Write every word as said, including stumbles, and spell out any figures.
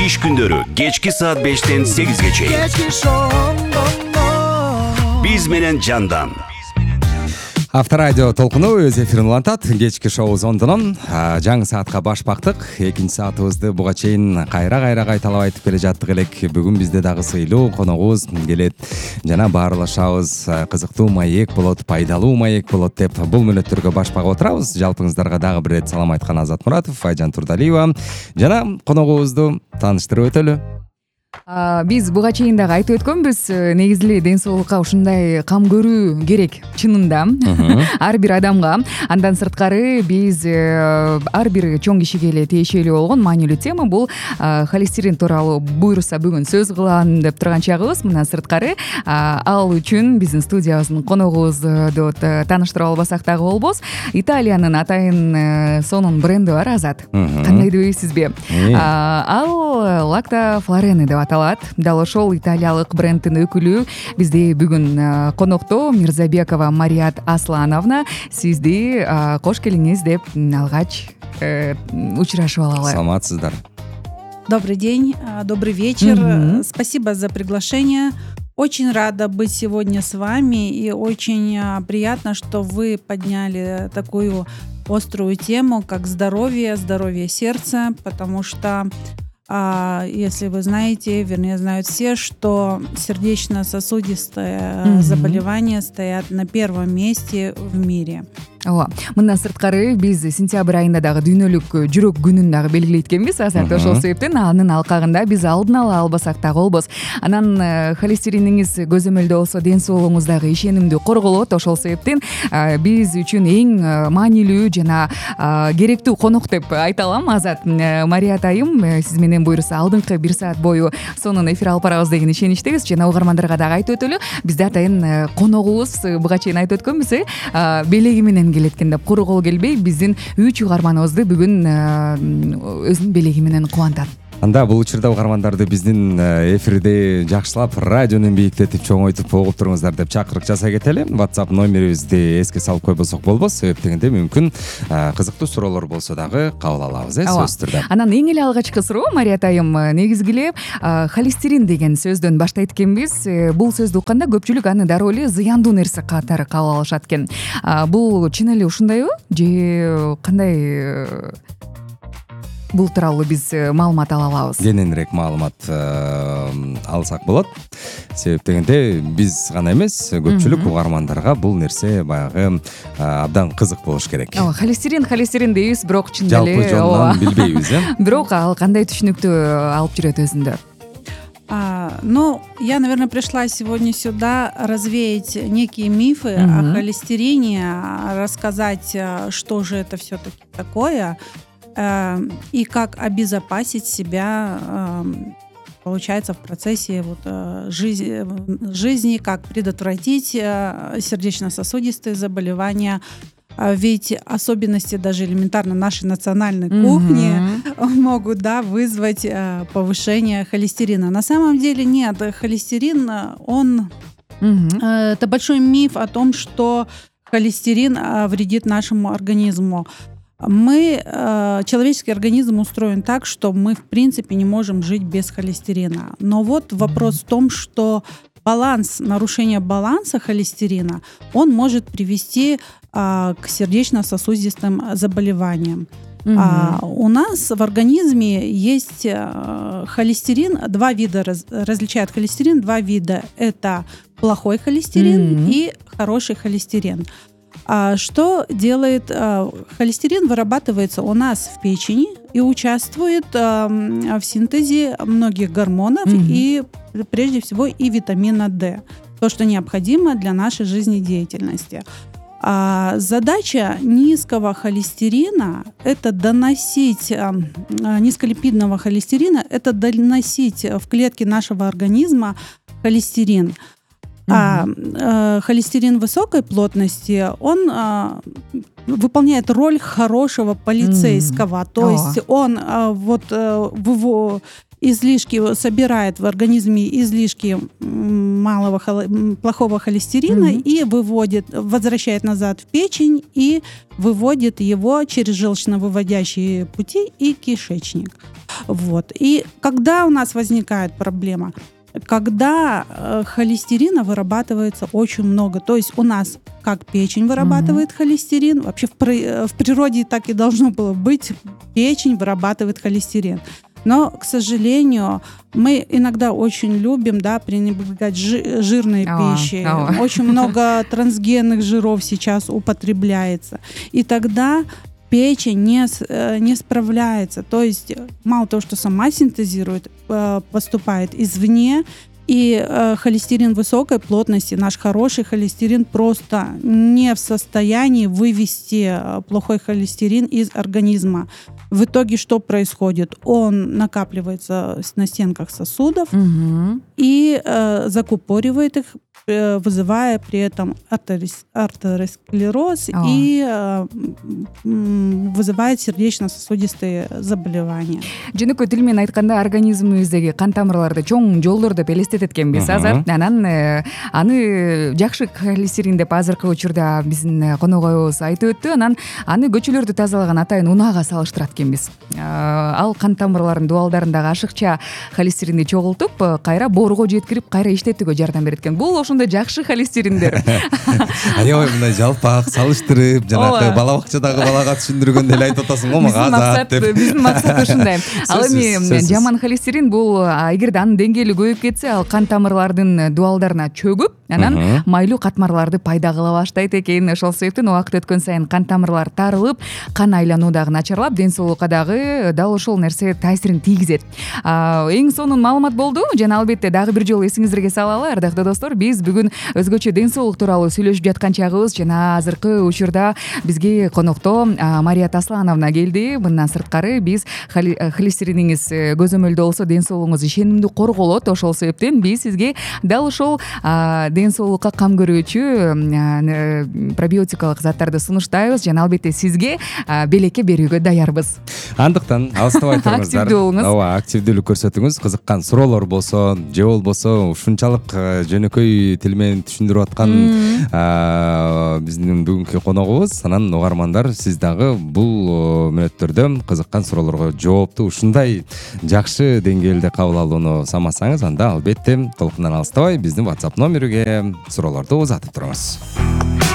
Иш күндөрү кечки саат бештен сегизге чейин. Кечки шоу. Биз менен жандан. Авторадио толкуну өз эфирин улантат. Кечки шоу зондунун жаңы саатка баш бактык. Экинчи саатыбызды буга чейин кайра-кайра кайталап айтып келе жаттык элек. Бүгүн бизде дагы сыйлуу коногубуз келет. Жана баарлашабыз, кызыктуу маек болот, пайдалуу маек болот деп бул мүнөттөргө баш багып отурабыз. Жалпыңыздарга дагы бир рет салам айткан Азат Муратов, Айжан Турдалиева жана коногубузду тааныштырып өтөлү. Биз буга чейин дагы айтып өткөнбүз, негизи эле ден соолукка ушундай кам көрүү керек чынында ар бир адамга. Андан сырткары биз ар бир чоң кишиге эле тиешелүү болгон маанилүү тема бул холестерин тууралуу буюрса бүгүн сөз кылам деп турган чагыбыз. Мындан сырткары ал үчүн биздин студиябыздын коногубузду тааныштырып албасак дагы болбос. Италиянын атайын сонун бренди бар, Азат. Кандай деп ийсизби? Ал Лакта Флорене деп аталат. Дал ошол италиялык брендтин өкүлү бизде бүгүн конокто. Мирзабекова Марият Аслановна, сизди кош келиңиз деп алгач учурашып алалы. Саламатсыздар. Добрый день, добрый вечер. Mm-hmm. Спасибо за приглашение. Очень рада быть сегодня с вами, и очень приятно, что вы подняли такую острую тему, как здоровье, здоровье сердца, потому что А, если вы знаете, вернее, знают все, что сердечно-сосудистые mm-hmm. заболевания стоят на первом месте в мире. Ооба. Мындан сырткары биз сентябрь айында дагы дүйнөлүк жүрөк күнүн дагы белгилейт экенбиз. Азат, ошол себептен анын алкагында биз алдын ала албасак дагы болбос. Анан холестериниңиз көзөмөлдө болсо ден соолугуңуз дагы ишенимдүү корголот. Ошол себептен биз үчүн эң маанилүү жана керектүү конок деп айта алам. Азат, Марият айым, сиз менен буюрса алдыңкы бир саат бою сонун эфир алып барабыз деген ишеничтебиз. Жана угармандарга дагы айтып өтөлү. Бизде атайын коногубуз буга чейин айтып өткөнбүз, белеги менен келет экен деп куру кол келбей, биздин үч угарманыбызды бүгүн өзүнүн белеги менен кубантат. Анда бул учурда угармандарды биздин эфирди жакшылап, радиону бийиктетип, чоңойтуп угуп туруңуздар деп чакырык жасай кетели. WhatsApp номерибизди эске салып койбосок болбос, себеп дегенде мүмкүн кызыктуу суроолор болсо дагы кабыл алабыз, э, сөзсүз түрдө. Анан эң эле алгачкы суроо, Марият айым, негизги эле холестерин деген сөздөн баштайт экенбиз. Бул сөздү укканда көпчүлүк аны дароо эле зыяндуу нерсе катары кабыл алышат экен. Бул чын эле ушундайбы же кандай? Бул тууралуу биз маалымат ала алабыз. Кененирээк маалымат алсак болот. Себеп дегенде биз гана эмес, көпчүлүк угармандарга бул нерсе баягы абдан кызык болуш керек. Ооба, холестерин, холестерин дейбиз, бирок чын эле жалпы жонунан билбейбиз, э? Бирок ал кандай түшүнүктү алып жүрөт өзүндө? А, ну, я, наверное, пришла сегодня сюда развеять некие мифы mm-hmm. о холестерине, рассказать, что же это все-таки такое, и как обезопасить себя, получается, в процессе вот, жизни, жизни, как предотвратить сердечно-сосудистые заболевания. Ведь особенности даже элементарно нашей национальной кухни mm-hmm. могут, да, вызвать повышение холестерина. На самом деле нет, холестерин, он mm-hmm. это большой миф о том, что холестерин вредит нашему организму. Мы, человеческий организм устроен так, что мы, в принципе, не можем жить без холестерина. Но вот вопрос в том, что баланс, нарушение баланса холестерина, он может привести а, к сердечно-сосудистым заболеваниям. Mm-hmm. А, у нас в организме есть а, холестерин, два вида, раз, различают холестерин, два вида. Это плохой холестерин mm-hmm. и хороший холестерин. А что делает а, холестерин? Вырабатывается у нас в печени и участвует а, в синтезе многих гормонов mm-hmm. и прежде всего и витамина D, то, что необходимо для нашей жизнедеятельности. А задача низкого холестерина – это доносить, а, низколипидного холестерина – это доносить в клетки нашего организма холестерин. А э, холестерин высокой плотности, он э, выполняет роль хорошего полицейского. Mm-hmm. То есть он э, вот, э, в его излишки, собирает в организме излишки малого, плохого холестерина mm-hmm. и выводит, возвращает назад в печень и выводит его через желчно-выводящие пути и кишечник. Вот. И когда у нас возникает проблема? Когда э, холестерина вырабатывается очень много. То есть у нас как печень вырабатывает mm-hmm. холестерин, вообще в, при, в природе так и должно было быть, печень вырабатывает холестерин. Но, к сожалению, мы иногда очень любим, да, пренебрегать жи- жирной oh, пищей. Oh. Очень много трансгенных жиров сейчас употребляется. И тогда печень не, не справляется. То есть мало того, что сама синтезирует, поступает извне, и э, холестерин высокой плотности, наш хороший холестерин, просто не в состоянии вывести плохой холестерин из организма. В итоге что происходит? Он накапливается на стенках созудов угу. и э, закупоривает их, э, вызывая при этом артерис, артеросклероз О. и э, вызывает сердечно-сосудистые заболевания. Жөнөкөй тил менен айтканда организмибиздеги кан тамырларды чоң жолдор деп элестетет экенбиз азыр. Анан аны жакшы холестерин деп азыркы учурда биздин коногубуз айтып өттү. Анан аны көчөлөрдү тазалаган атайын унаага салыштырат экенбиз. Ал кан тамырларынын дуалдарындагы ашыкча холестеринди чогултуп, кайра боорго жеткирип, кайра иштетүүгө жардам берет экен. Бул ошондой жакшы холестериндер. Аябай мындай жалпак салыштырып, жанагы бала бакчадагы балага түшүндүргөндөй эле айтып атасың го, мага азат деп. Биздин максат ушундай. Ал эми жаман холестерин бул эгерде анын деңгээли көбөйүп кетсе, ал кан тамырлардын дуалдарына чөгүп, анан майлуу катмарларды пайда кыла баштайт экен. Ошол себептен убакыт өткөн сайын кан тамырлар тарылып, кан айлануу дагы начарлап, ден соолукка дагы дал ошол нерсе таасирин тийгизет. Эң сонун маалымат болду. Жана албетте дагы бир жолу эсиңиздерге салалы, ардактуу достор, биз бүгүн өзгөчө ден соолук тууралуу сүйлөшүп жаткан чагыбыз, жана азыркы учурда бизге конокто Мария Таслановна келди. Мындан сырткары биз холестериниңиз көзөмөлдө болсо ден соолугуңуз ишенимдүү корголот. Ошол себептен биз сизге дал ошол ден соолукка кам көрүүчү пробиотикалык заттарды сунуштайбыз, жана албетте сизге белекке берүүгө даярбыз. Андыктан алыстабай туруңуздар. Активдүү болуңуз. Ооба, активдүүлүк көрсөтүңүз. Кызыккан суроолор болсо, же болбосо ушунчалык жөнөкөй тил менен түшүндүрүп аткан биздин бүгүнкү коногубуз. Анан угармандар, сиз дагы бул мүнөттөрдө кызыккан суроолорго жоопту ушундай жакшы деңгээлде кабыл алууну самасаңыз, анда албетте толкундан алыстабай биздин WhatsApp номериге суроолорду узатып туруңуз.